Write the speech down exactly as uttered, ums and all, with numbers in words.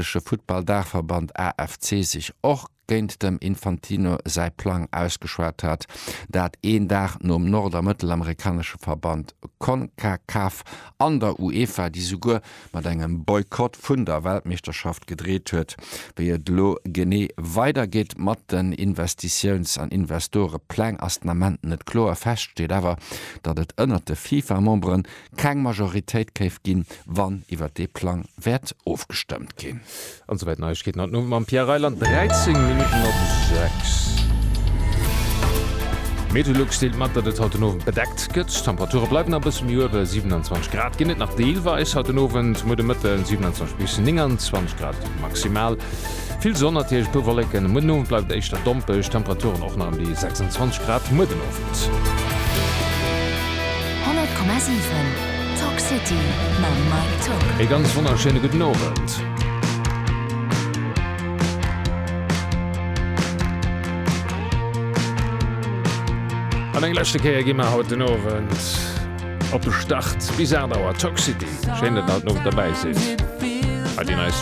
Futtball-Daachverband A F C sech och géint dem Infantino säi Plang ausgeschwat hat, dat een Dag nom nord- a mëttelamerikanesche Verband CONCACAF an der UEFA, déi souguer mat engem Boykott vun der Weltmeeschterschaft gedreet huet. Wéi et lo genee weidergeet mat den Investitiouns- an Investorepläng ass den Ament net kloer. Fest steet awer, datt et ënnert de FIFA-Membere keng Majoritéit géif ginn, wann iwwer dee Plang wäert ofgestëmmt ginn. An souwäit Neiegkeeten haut mam Pierre Reyland. dräizéng Minutten op sechs. Meteolux deelt mat, datt et haut den Owend bedeckt gëtt. D'Temperature bleiwen e bësse méi uewen, siewenundzwanzeg Grad ginn et nach deelweis haut den Owend, muer de Mëtten siewenundzwanzeg bis nénganzwanzeg Grad maximal. Vill Sonn natierlech, puer Wolleken. Muer den Owend bleift et éischter dompeg, Temperaturen och nach ëm déi sechsundzwanzeg Grad muer den Owend. honnert Komma siwen Talk City mam Mike Tock. E ganz wonnerschéine gudden Owend. An eng leschte Kéier gi mer haut den Owend op de Start bis aacht Auer Talk City. Schéin, datt der haut den Owend derbäi sidd. Bei déi neist.